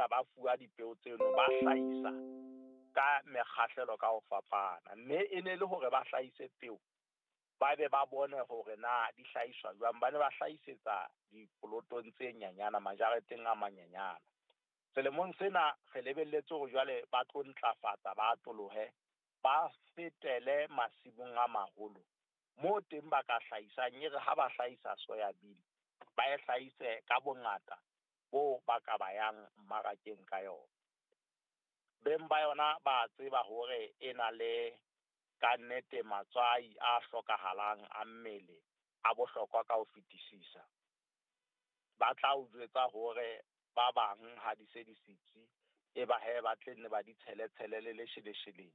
fihla ba fuwa dipeo tseno, ba hlahisa ka mekgahlelo ka ho fapana. Mme e ne le hore ba hlahise peo, ba be ba bone hore na di hlahiswa jwang. Ba ne ba hlahisetsa dipolotong tse nyanyana, majareteng a manyenyana. Selemong sena re lebelletse hore jwale ba tlo ntlafatsa, ba atolohe, ba fetele masimong a maholo moo teng ba ka hlahisang. E re ha ba hlahisa soya bean, ba e hlahise ka bongata bo ba ka ba yang mmarakeng ka yona. Beng ba yona ba tseba hore e na le kannete matswai a hlokahalang a mmele a bohlokwa ka ho fetisisa. Ba tla o jwetsa hore ba bang ha di se di sitsi, e ba hee ba tle nne ba di tshele tshele le leshelesheleng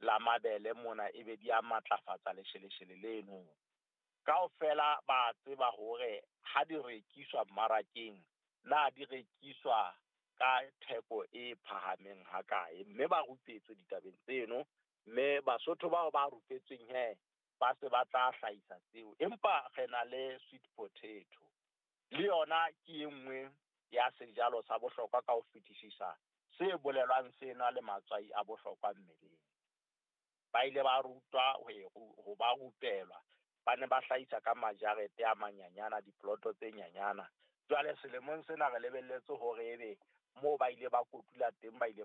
la mabele mona, ebe di a matlafatsa lesheleshele leno. Kaofela ba tseba hore ha di rekiswa mmarakeng, na di rekiswa ka theko e phahameng ha kae, mme ba rupetswe ditabeng tseno. Mme Basotho bao ba rupetsweng he ba se ba tla hlahisa tseo. Empa re na le sweet potato, le yona ke e nngwe ya sejalo sa bohlokwa ka ho fetisisa se bolelwang se na le matswai a bohlokwa mmeleng. Ba ile ba rutwa ho e ho ba rupelwa, ba ne ba hlahisa ka majarete a manyanyana, dipoloto tse nyanyana. Jwale selemong sena re lebelletse hore ebe moo ba ile ba kotula teng, ba ile ba